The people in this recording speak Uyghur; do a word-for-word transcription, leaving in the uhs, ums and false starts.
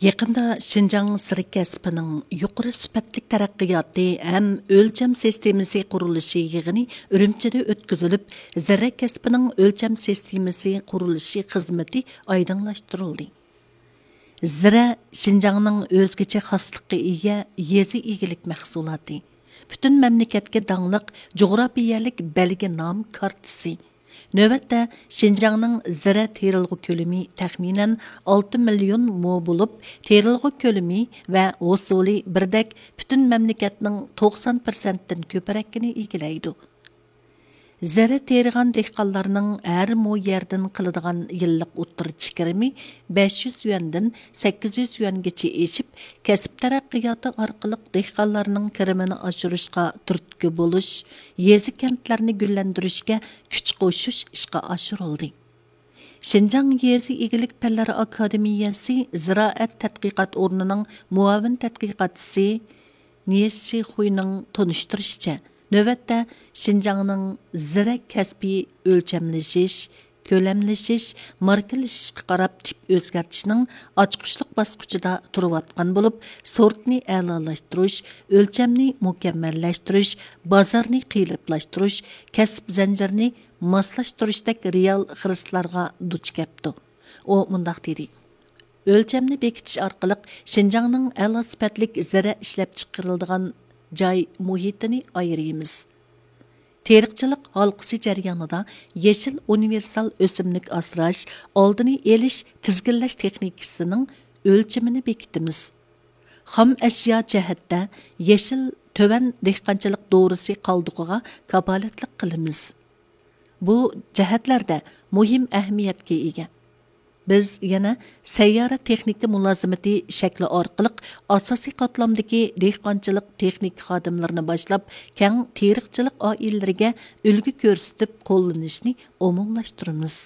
يېقىندا شىنجاڭ زىرە كەسپىنىڭ يۇقىرى سۈپەتلىك تەرەققىياتى ھەم ئۆلچەم سىستېمىسى قۇرۇلۇشى يىغىنى ئۈرۈمچىدە ئۆتكۈزۈلۈپ، زىرە كەسپىنىڭ ئۆلچەم سىستېمىسى قۇرۇلۇشى خىزمىتى ئايدىڭلاشتۇرۇلدى. زىرە شىنجاڭنىڭ ئۆزگىچە خاسلىققا ئىگە يېزا ئىگىلىك مەھسۇلاتى، پۈتۈن مەملىكەتكە داڭلىق جۇغراپىيەلىك بەلگە نام كارتىسى. نۆۋەتتە، شىنجاڭنىڭ زىرە تېرىلغۇ كۆلىمى تەخمىنەن ئالتە مىليون مو بولۇپ، تېرىلغۇ كۆلىمى ۋە ھوسۇلى بىردەك پۈتۈن مەملىكەتنىڭ توقسان پىرسەنتتىن كۆپرەكىنى ئىگىلەيدۇ. زىرە تېرىغان دېھقانلارنىڭ ھەر مو يەردىن قىلىدىغان يىللىق ئوتتۇرىچە كىرىمى بەش يۈز يۈەندىن سەككىز يۈز يۈەنگىچە ئېشىپ، كەسىپ تەرەققىياتى ئارقىلىق دېھقانلارنىڭ كىرىمىنى ئاشۇرۇشقا تۈرتكە بولۇش، يېزا، كەنتلەرنى گۈللەندۈرۈشكە كۈچ قوشۇش ئىشقا ئاشۇرۇلدى. شىنجاڭ يېزا ئىگىلىك پەنلىرى ئاكادېمىيەسى زىرائەت تەتقىقات ئورنىنىڭ مۇئاۋىن تەتقىقاتچىسى نيې شىخۇينىڭ تونۇشتۇرۇشىچە، نۆۋەتتە شىنجاڭنىڭ زىرە كەسپى ئۆلچەملىشىش، كۆلەملىشىش، ماركىلىشىشقا قاراپ تىپ ئۆزگەرتىشنىڭ ئاچقۇچلۇق باسقۇچىدا تۇرۇۋاتقان بولۇپ، سورتنى ئەلالاشتۇرۇش، ئۆلچەمنى مۇكەممەللەشتۈرۈش، بازارنى قېلىپلاشتۇرۇش، كەسىپ زەنجىرىنى ماسلاشتۇرۇشتەك رېئال خىرىسلارغا دۇچ كەپتۇ. ئۇ مۇنداق دېدى: ئۆلچەمنى بېكىتىش ئارقىلىق شىنجاڭنىڭ ئەلا سۈپەتلىك زىرە ئىشلەپچىقىرىلىدىغان جاي مۇھىتىنى ئايرىيمىز. تېرىقچىلىق ھالقىسى جەريانىدا يېشىل ئۇنىۋېرسال ئۆسۈملۈك ئاسراش، ئالدىنى ئېلىش، تىزگىنلەش تېخنىكىسىنىڭ ئۆلچىمىنى بېكىتىمىز. خام ئەشيا جەھەتتە يېشىل تۆۋەن دېھقانچىلىق دورىسى قالدۇقىغا كاپالەتلىك قىلىمىز. بۇ جەھەتلەردە مۇھىم ئەھمىيەتكە ئىگە. بىز يەنە سەييارە تېخنىكا مۇلازىمىتى شەكلى ئارقىلىق ئاساسىي قاتلامدىكى دېھقانچىلىق تېخنىكا خادىملىرىنى باشلاپ، كەڭ تېرىقچىلىق ئائىلىلىرىگە ئۈلگە كۆرسىتىپ قوللىنىشنى ئومۇملاشتۇرىمىز.